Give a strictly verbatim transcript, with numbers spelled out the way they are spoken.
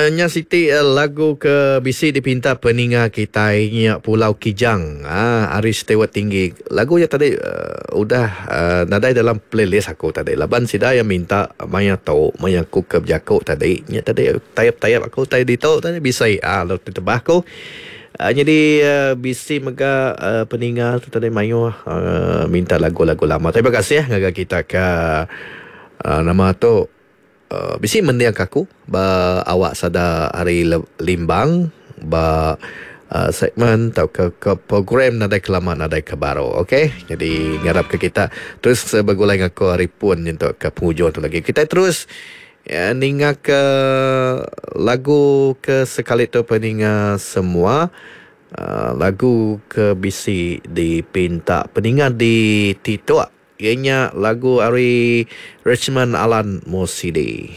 Nya siti lagu ke bisi dipinta peninga kitai nya Pulau Kijang ari Steward Tinggi. Lagu nya tadi udah nadai dalam playlist aku tadi laban sida iya minta maya tu maya aku ke bejaku tadi nya tadi tayap-tayap aku tai ditu tadi bisi lalu tebah aku. Nyadi bisi mega peninga tu tadi mayuh minta lagu-lagu lama. Terima kasih ngagai kita ke nama tu. Bisi mending ka aku ba awak sada ari Limbang ba segmen tauka ke program nadai ke lama nadai ke baru ok. Jadi ngarap ke kita terus begulai enggau aku ari pun nyentuk ke pengujung tu lagi. Kita terus ninga ke lagu ke sekali tu peninga semua lagu ke bisi dipinta peninga di TikTok. Iya nya lagu ari Richmond Alan Mosidi.